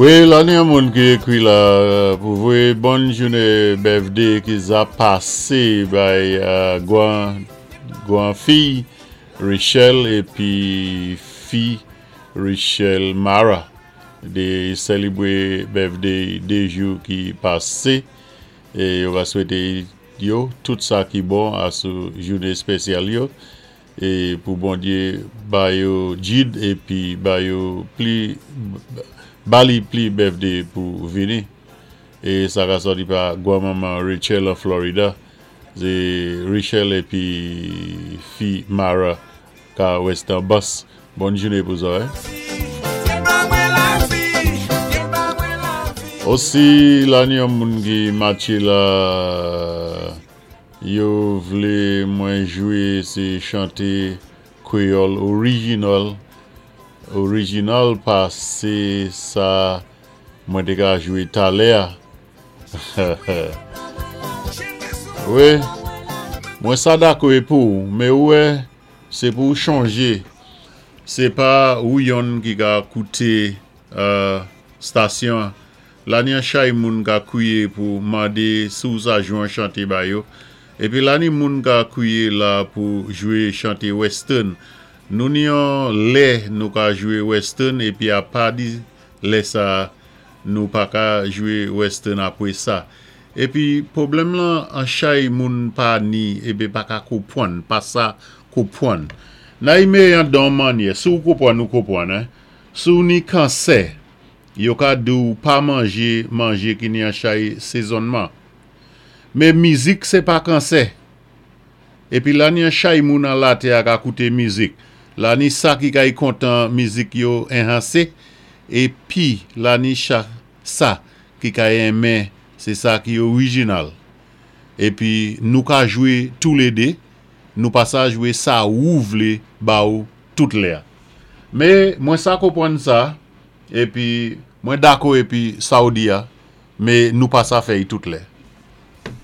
Wi, la ni yon moun ki ékwi la pou voyé bòn jouné birthday ki za pasé bay gwan gwan fiy Richelle épi fi Richelle Mara dé sélébwé birthday 2 jou ki pasé é yo va swété yo tout sa ki bon a sou jouné spésyal yo. E pou Bondye ba yo jid epi ba yo pli ba li pli birthday pou vini e sa ka sòti pa gwan manman Rachel an Florida se Richelle epi fi Mara ka westan bus bòn joune pou zòrèy. Osi la ni yon moun ki matche la. Yo vlé mwen jwé sé chanté kwéyòl original original pasé sa mwen té ka jwé talè a wi mwen sa dakò é pouw men ou wè sé pouw chonjé sé pa ou yonn ki ka kouté stasyon an La ni an chay moun ka kwiyé pou mandé si w sa jwe an chanté ba yo. Épi la ni moun ka kwiyé la pou jwé chanté western. Nou ni yon lè nou ka jwé western épi apa di lè sa nou pa ka jwé western apwé sa. Épi pwoblèm lan an chay moun pa ni épi pa ka kopwann, pa sa kopwann. Naime an don mannyè, si w kopwann ou kopwann hein. Si w ni kansè, Yo ka di w pa manje manje ki ni an chay sezonnman. Men mizik se pa kansè. Epi la ni an chay moun an latè a ka koute mizik. La ni sa ki kay kontan mizik yo enhanse epi la ni cha sa ki kay enmen se sa ki orijinal. Epi nou ka jwe toulede, nou pa sa jwe sa wou vle ba ou tout lè. Me mwen sa konprann sa. Epi mwen dako epi sa ou di a me nou pa sa fè y tout lè.